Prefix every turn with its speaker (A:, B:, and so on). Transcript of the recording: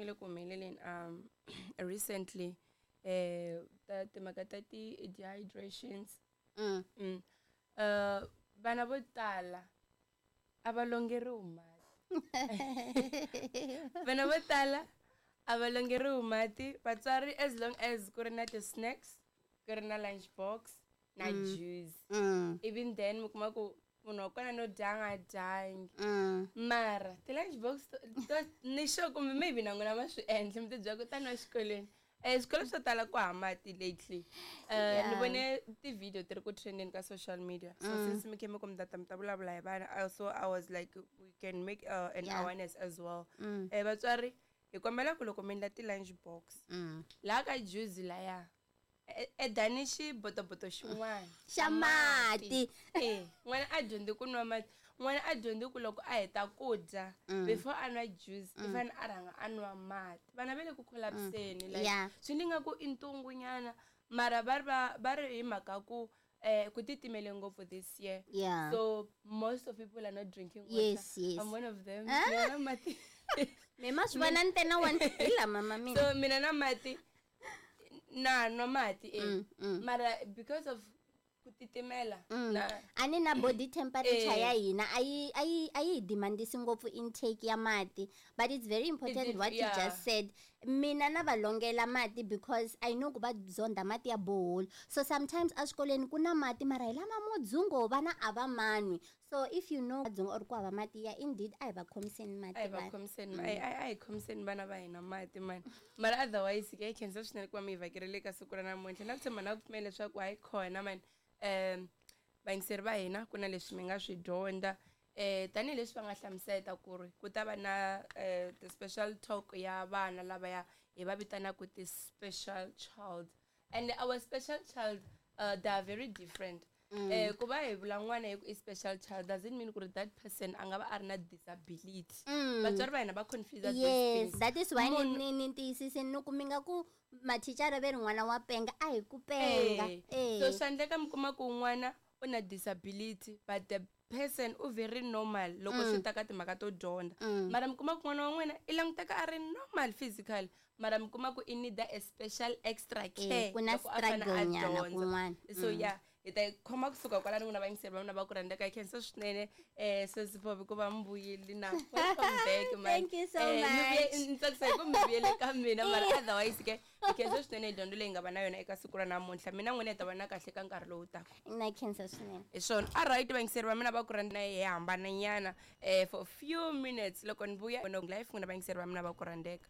A: nga le ku humeleleni recently ta timhaka ta ti-dehydrations. Vana vo tala a va longeriwi mati. Vana vo tala a va longeriwi mati. Vatswari, as long as ku ri na ti-snacks, ku ri na lunch box na juice, even then mi kuma ku munhu wa kona no dya a nga dyangi. Mara ti-lunch box to ni sure kumbe maybe na n'wina ma swi endla, mi ti byela ku tani wa xikolweni, swikolo swo tala ku hava mati lately. Ni vone ti-video ti ri ku trendeni ka social media, so since mi khe mi ku mi tata mi ta vulavula hi vana, also I was like, we can make an awareness as well. Vatswari, hi kombela ku loko mi endla ti-lunch box, laha ka juice laya, edani xibotoboto xin'wana
B: xa mati.
A: N'wana a dyondzi ku nwa mati. N'wana a dyondzi ku loko a heta ku dya, before a nwa juice, i fanele a rhanga a nwa mati. Vana va le ku collapseni, like swi ni nga ku i ntungu nyana, mara va ri va ri hi mhaka ku ku titimele ngopfu this year. So most of people are not drinking water. I'm one of them. Mina na mati.
B: Me ma swi vona ni tena one hi lama ma mina.
A: So mina na mati, na nwa mati mara because of ku titimela na
B: A ni na body temperature ya hina a yi hi demandisi ngopfu intake ya mati, but it's very important what you just said. Mina na va longela mati because I know ku va zonda mati ya borehole, so sometimes eswikolweni ku na mati, mara hi lama mo dzungo, vana a va manwi. So if you know dzungo or ku hava mati ya, indeed a hi va khomiseni mati.
A: A hi va
B: vanhu.
A: Khomiseni, a hi khomiseni vana va hina mati mani. Mara otherwise ke, hi khensa swinene ku va mi hi vhakerile ka siku ra namuntlha, na ku tshemba na ku pfumela leswaku hayi khona mani, vayingiseri va hina, ku na leswi mi nga swi dyondza, tanihileswi va nga hlamuseta ku ri ku ta va na ti-special talk ya vana lavaya hi va vitanaka ti-special child. And our special child, they are very different. Ku va hi vula n'wana hi ku i special child doesn't mean ku ri that person a nga va a ri na disability. Vatswari va hina va confuse these things.
B: That is why ni tiyisisini ni ku mi nga ku mathicara ve ri n'wana wa penga, a hi ku penga.
A: So swa endleka mi kuma ku n'wana u na disability, but the person u very normal loko swi ta ka timhaka to dyondza. Mara mi kuma ku n'wana wa n'wina i languteka a ri normal physical, mara mi kuma ku i need a special extra care
B: ku na
A: loko a fane a
B: struggle nyana
A: dyondza.
B: Kun'wana.
A: So yeah, hi ta yi khoma kusuka kwalano. N'wina vayingiseri va mina va ku rhandzeka, hi khensa swinene sesi Popi ku va mi vuyile na welcome back, man.
B: Thank you so
A: Mi
B: much.
A: Ni tsakisa hi ku mi vuyele ka mina, mara otherwise ke hi khensa swinene hi dyondzo leyi nga va na yona eka siku ra namuntlha. Mina n'wina hi ta vona kahle ka nkarhi lowu taka.
B: Na khensa swinene.
A: Hi swona. Alright, vayingiseri va mina va ku rhandza, hi hambana nyana for few minutes. Loko ni vuya life, n'wina vayingiseri va mina va ku rhandzeka.